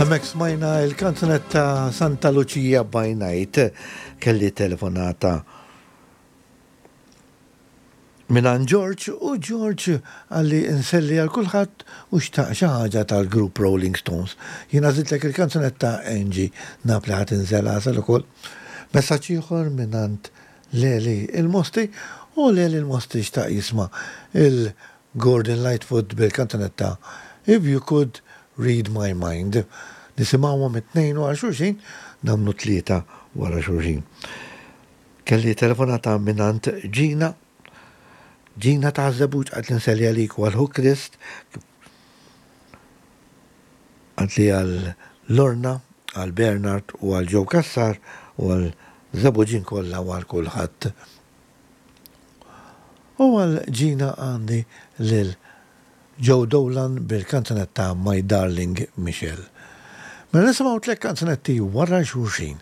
Hemmhekk smajna il-kanzunetta Santa Lucia by Night. Kelli telefonata mingħand George u George qalli nselli għal kulħadd u xtaq xi ħaġa tal-grupp Rolling Stones. Jien għażiltlek il-kanzunetta Angie, naf li ħa tinżel għasel ukoll. Messaġġ ieħor mingħand Leli il-Mosti u Leli il-Mosti xtaq jisma' il Gordon Lightfoot bil-kanzunetta If You Could Read My Mind. Nisimgħuhom it-tnejn wara xulxin, nagħmlu tlieta wara xulxin. Kelli telefonata mingħand Gina. Gina ta' Żebbuġ qalt li nselli għalik u għal ħuk Chris. Qalt li għal Lorna, għal Bernard u għal Joe Cassar u għal Żebbuġin kollha u għal kulħadd. U għal Gina għandi lil Joe Dolan bil-kanzunetta My Darling Michelle. Mela nisimgħu tlett kanzunetti wara xulxin.